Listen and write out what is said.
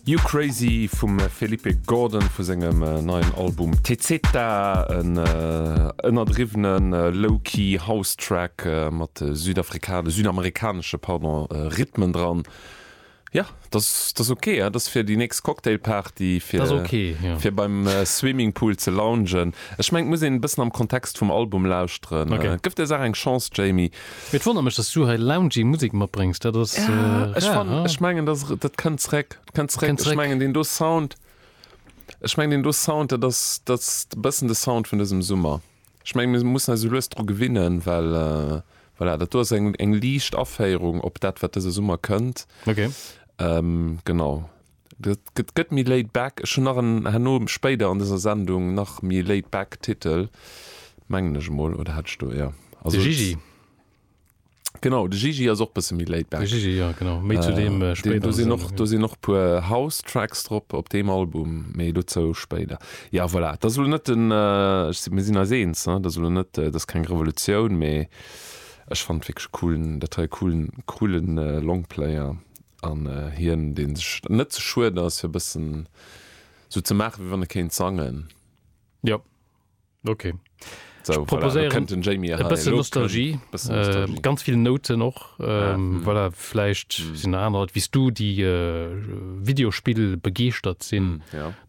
You Crazy vum Felipe Gordon vu sengem neien Album Tezeta, en ënnerdriwwene low-key House Track mat südamerikanesche pardon Rhythmen dran. Jo, dat ass ok, dat ass fir déi nächst Cocktailparty, fir fir beim Swimmingpool ze loungen. Ech mengen, et muss een e bëssen am Kontext vum Album lauschteren. Gëff der Saach eng Chance, Jamie. Mee et wonnert mech, dass du hei loungy Musek matbréngs, dat ass rar. Ech fannen, ech mengen, dat dat kënnt zréck, kënnt zréck. Ech mengen, deen do Sound, ech mengen, deen do Sound, dat ass, dat ass e bëssen de Sound vun dësem Summer. Ech mengen, mir mussen eis esou lues dru gewinnen, well voilà, dat do ass eng, eng liicht Aféierung op dat, wat dëse Summer kënnt. Okay. Genau. Dat gëtt, gëtt méi laid back. Ech hunn nach en, herno spéider an dëser Sendung nach méi laid back Titel, mengen ech emol, oder hat ech do, jo. Also, De Gigi. Genau, de Gigi ass och bësse méi laid back. De Gigi, jo, genau. Méi zu deem spéider. Do sinn och, do sinn och puer House Tracks drop op deem Album, mee dozou spéider. Ja, voilà, dat ass elo net den, ech si, mir sinn eis eens, ne, dat ass elo net, dat ass keng Revolutioun, mee ech fannen wierklech e coolen, dat hei e coolen, coolen Longplayer an hien, dee sech net ze schued ass, fir e bëssen sou ze maachen, wéi wann e kéint sangen. Jo. Ok. So, Ech proposéieren voilà, Jamie e bëssen Nostalgie, bëssen Nostalgie. Äh, ganz vill Nouten och. Ähm, mm. Voilà, vläicht mm. sinn aner Leit wéi s du, déi äh, Videospill begeeschtert sinn. Mm, ja.